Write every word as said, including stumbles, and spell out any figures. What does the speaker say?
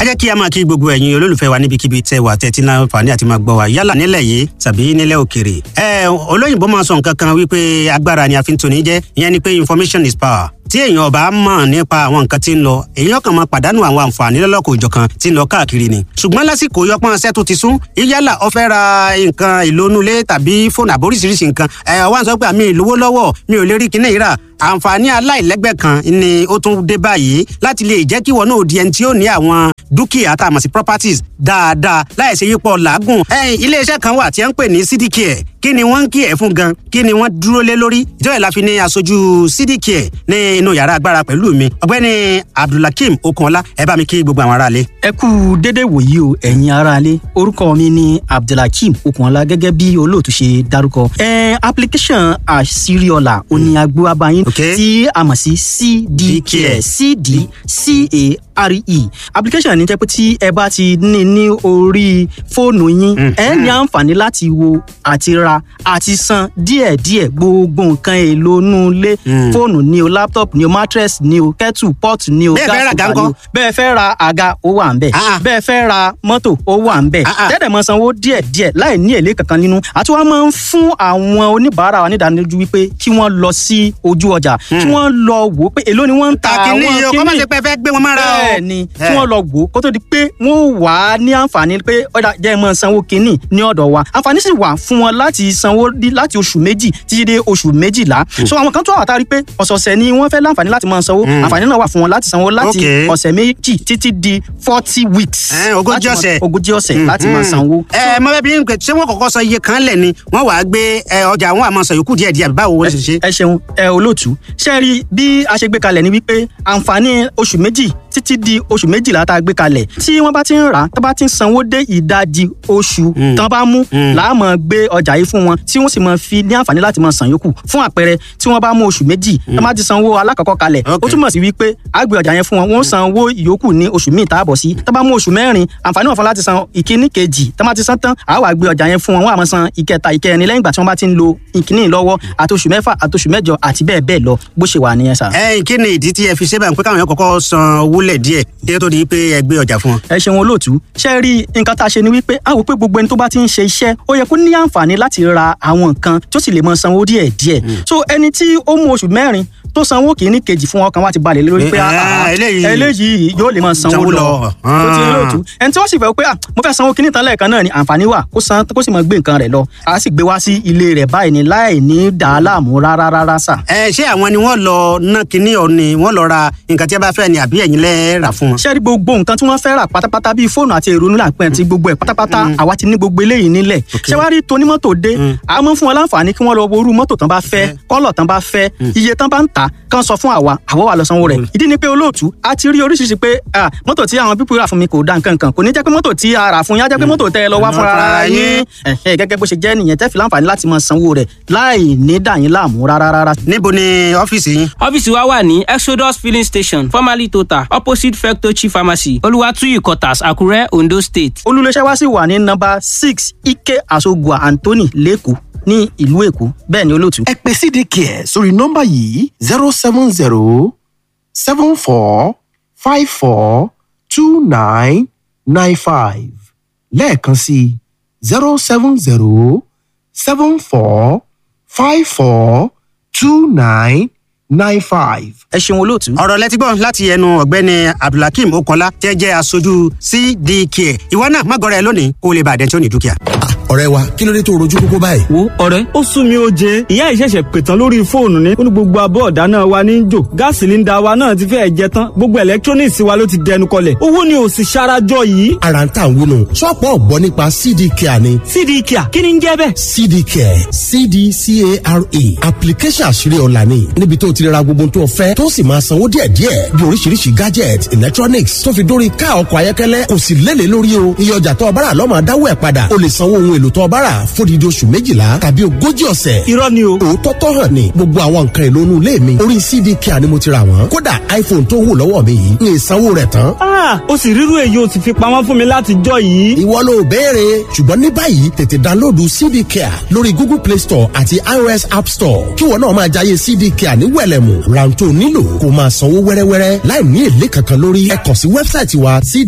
Ẹ jẹ́ kí a máa kí gbogbo ẹ̀yin olólùfẹ́ wa níbikíbi tẹ́ wà tẹ́tí náà fàní àti máa gbọ́ wa yálà nílẹ̀ yìí tàbí nílẹ̀ òkèrè. Ẹ olóyìnbó máa sọ nǹkan kan wípé agbára ni a fi ń toni jẹ́, ìyẹn ni pé information is power. Tí èèyàn ọba mọ̀ nípa àwọn nǹkan tí ń lọ, èèyàn kan máa pàdánù àwọn àǹfààní lọ́lọ́kọ̀ òjọ̀kan tí ń lọ káàkiri ni. Ṣùgbọ́n lásìkò yọpọ́n ṣẹ́ tó ti sún, yálà ó fẹ́ ra nǹkan ìlónúlé tàbí fóònù àbóríṣiríṣi nǹkan, ẹ̀ wá ń sọ pé àmì ìlówó lọ́wọ́, mi ò lè rí kinní ìrà. Àǹfààní aláìlẹ́gbẹ́ kan ni ó tún dé báyìí láti lè jẹ́ kí wọn náà di ẹni tí ó ní àwọn dúkìá tá a mọ̀ sí properties dáadáa láìsí yípo làágùn. Iléeṣẹ́ kan wà tí a ń pè ní C D Care. Kí ni wọ́n ń kí ẹ̀ fún gan? Kí ni wọ́n dúró lé lórí? Ìjọba ìlàfi ní aṣojú C D Care ní inú yàrá agbára pẹ̀lú mi, ọ̀gbẹ́ni Abdulhakeem Okunọlá. Ẹ bá mi kí gbogbo àwọn aráalé. Ẹ kú dédé wòyí o, ẹ̀yin aráalé. Orúkọ mi ni Abdulhakeem Okunọlá, gẹ́gẹ́ bí olóòtú ṣe dárúkọ. Ẹ application àṣírí ọ̀la òní agbó abayín tí a mọ̀ sí C D Care, C D C A R E application ní jẹ́ pé tí ẹ bá ti ní ní orí fóònù yín, ẹ ní àǹfààní láti wo àti ra àti san díẹ̀díẹ̀ gbogbo nǹkan èlò inú ilé: fóònù ni o, laptop ni o, mattress ni o, kettle pot ni o, gas cooker ni o. Bẹ́ẹ̀ fẹ́ ra àga, ó wà ń bẹ̀. Bẹ́ẹ̀ fẹ́ ra mọ́tò, ó wà ń bẹ̀. Tẹ́tẹ̀ mọ́ sanwó díẹ̀díẹ̀ láì ní èlé kankan nínú. Àti wọ́n máa ń fún àwọn oníbàárà wa nídánilójú wípé kí wọ́n lọ sí ojú ọjà, kí wọ́n lọ wò ó pé èló ni wọ́n ń ta àwọn kíní. Kọ́mọ̀ sí pé fẹ́ gbé wọn mára o. Bẹ́ẹ̀ ni, kí wọ́n lọ wò ó kó tó di pé wọ́n wà á ní àǹfààní pé ọ̀dà jẹ́ mọ́ sanwó kínní ní ọ̀dọ̀ wa. Àǹfààní sì wà fún wọn láti sanwó láti oṣù méjì títí dé oṣù méjìlá. So àwọn kan tó wà tá a rí pé ọ̀sọ̀ọ̀sẹ̀ ni wọ́n fẹ́ láǹfààní láti máa sanwó, àǹfààní náà wà fún wọn láti sanwó láti ọ̀sẹ̀ méjì títí di forty weeks. Ogójì ọ̀sẹ̀. Ogójì ọ̀sẹ̀ láti máa sanwó. Ẹ mọ bẹ́ẹ̀ bí n pè, ṣé wọ́n kọ́kọ́ sọ iye kan lẹ̀ ni wọ́n wàá gbé ọjà àwọn àmọ́ sọ yòókù díẹ̀ díẹ̀? Báwo wọ́n ṣe ṣe? Ẹ ṣeun ẹ olóòtú. Ṣe rí bí a ṣe gbé kalẹ̀ ni wípé àǹfààní oṣù méjì títí di oṣù méjìlá tá a gbé kalẹ̀, tí wọ́n bá ti ń rà á, tó bá ti ń sanwó dé ìdajì oṣù tán bá mú, làá máa gbé ọjà yìí fún wọn, tí wọ́n sì máa fi ní àǹfààní láti máa san yòókù. Fún àpẹẹrẹ, tí wọ́n bá mú oṣù méjì, tó bá ti sanwó alákọ̀ọ́kọ́ kalẹ̀, ó túmọ̀ sí wípé a gbé ọjà yẹn fún wọn, wọ́n san owó ìyókù ní oṣù míì tá a bọ̀ sí. Tó bá mú oṣù mẹ́rin, àǹfààní wọn fún láti san ìkíní kejì. Tó bá ti san tán, a wá gbé ọjà yẹn fún wọn, wọ́n á máa san ìkẹta, ìkẹrin lẹ́yìn ìgbà tí wọ́n bá ti ń lo ìkíní lọ́wọ́, àti oṣù mẹ́fà, àti oṣù mẹ́jọ, àti bẹ́ẹ̀ bẹ́ẹ̀ lọ. Bó ṣe wà nìyẹn sà. Ẹ kí ni ìdí tí ẹ fi ṣe báyìí pé káwọn yẹn kọ́kọ́ san owó lẹ̀ díẹ̀ kí ó tó di pé ẹ gbé ọjà fún wọn? Ẹ ṣeun olóòtú. Ṣe rí nǹkan tá a ṣe ni wípé a wò pé gbogbo ẹni tó bá ti ń ṣe iṣẹ́, ó yẹ kó ní àǹfààní láti ra àwọn nǹkan tó sì lè mọ sanwó díẹ̀ díẹ̀. So ẹni tí ó mú oṣù mẹ́rin tó sanwó kìíní kejì fún, ọkàn wa ti balẹ̀ lórí pé eléyìí yóò lè máa sanwó lọ. Tó ti olóòtú, ẹni tí wọ́n sì fẹ́ pé mo fẹ́ sanwó kìíní tán lẹ́ẹ̀kan náà ni, àǹfààní wà kó san, kó sì máa gbé nǹkan rẹ̀ lọ. A sì gbé wá sí ilé rẹ̀ báyìí ni láì ní dà á láàmú rárá rárá sà. Ẹ ṣé àwọn ni wọ́n lọ ná kinní ọ ni wọ́n lọ ra nǹkan tí a bá fẹ́ ni, àbí ẹ̀yin lẹ́ rà fún wọn? Ṣé rí gbogbo nǹkan tí wọ́n fẹ́ rà pátápátá, bíi fóònù àti èrò nílà pẹ́ àti gbogbo ẹ̀ pátápátá, àwa ti ní gbogbo eléyìí nílẹ̀. Ṣé wàá rí tonímọ́tò dé, a máa ń fún wọn láǹfààní kí wọ́n lọ wo irú mọ́tò tán bá fẹ́, kọ́lọ̀ tán bá fẹ́, iye tán bá ń tà, kán sọ fún àwa, àwa wà lọ sanwó rẹ̀. Ìdí ni pé olóòtú, a ti rí oríṣiríṣi pé mọ́tò tí àwọn pípọ̀ rà fún mi kò da nǹkan kan. Kò ní jẹ́ pé mọ́tò tí a rà fún yín á jẹ́ pé mọ́tò tẹ́ ẹ lọ wá fúnra ara yín. Gẹ́gẹ́ bó ṣe jẹ́ nìyẹn, tẹ́ fi láǹfààní láti máa sanwó rẹ̀ láì ní dà yín láàmú rárá rárá. Níbo ni ọ́fíìsì yín? Ọ́fíìsì wa wà ní Exodus Filling Station, formerly Total, opposite Fectochi Pharmacy, Olúwàtúyì Quarters, Àkúrẹ́, Ondo State. Olùléṣẹ́ wa sì wà ní nọ́mbà six, Ike Asogua Anthony, lẹ́kọ̀ọ́ ní ìlú Èkó. Bẹ́ẹ̀ ni olóòtú. Ẹ pè C D Care sórí nọ́mbà yìí: zero seven zero seven four five four two nine nine five. Lẹ́ẹ̀kan sí: zero seven zero seven four five four two nine nine five. Ẹ ṣeun olóòtú. Ọ̀rọ̀ lẹ́tí gbọ́ láti ẹnu ọ̀gbẹ́ni Abdulhakeem Okola tẹ́ jẹ́ aṣojú C D K. Ìwọ náà má gọrẹ lónìí kó o lè bàdẹ́ tí ó ní dúkìá. Ọ̀rẹ́ wa, kí ló dé tó rojú kókó báyìí? Wo ọ̀rẹ́, ó sún mi ó jẹ. Ìyá ìṣẹ̀ṣẹ̀ pètàn lórí fóònù ni ó ní gbogbo abọ́ ọ̀dá náà wa ní jò, gáàsì sílíńdà wa náà ti fẹ́ẹ̀ jẹ tán, gbogbo electronics wa ló ti dẹnu kọlẹ̀, owó ni ò sì ṣarajọ yìí. Ara ń tà ń wúnu, ṣọ́ọ̀pù ọ̀gbọ́n nípa C D Care ni. C D Care, kí ni ń jẹ́ bẹ́ẹ̀? C D Care, C D C A R E, application àṣírí ọ̀la ni, níbi tó ti ra gbogbo tó fẹ́, tó sì máa sanwó díẹ̀díẹ̀, bí oríṣiríṣi gadget, electronics, tó fi dórí ká ọkọ̀ ayọ́kẹ́lẹ́. Kò sì lélẹ̀ lórí o. Iye ọjà tó ọbára lọ́mọ dáwọ́ ẹ̀ padà. O lè sanwó ohun èlò tó ọbára fódìdí oṣù méjìlá tàbí ogójì ọ̀sẹ̀. Irọ́ ni o. Òótọ́ tó hàn ní, gbogbo àwọn nǹkan èlò inú ilé mi, orí C D Care ni mo ti rà wọ́n. Kódà iPhone tó wù lọ́wọ́ mi yìí, ní ìsanwó rẹ̀ tán. Ó sì rírú èyí ó sì fi pamọ́ fún mi láti jọ yìí. Ìwọ ló béèrè, ṣùgbọ́n ní báyìí tètè download C D Care lórí Google Play Store àti iOS App Store, kí wọn náà máa jayé C D Care ní wẹ̀lẹ̀mù. Rántó nílò kó máa sanwó wẹ́rẹ́wẹ́rẹ́ láì ní èlé kankan lórí. Ẹ kàn sí website wa.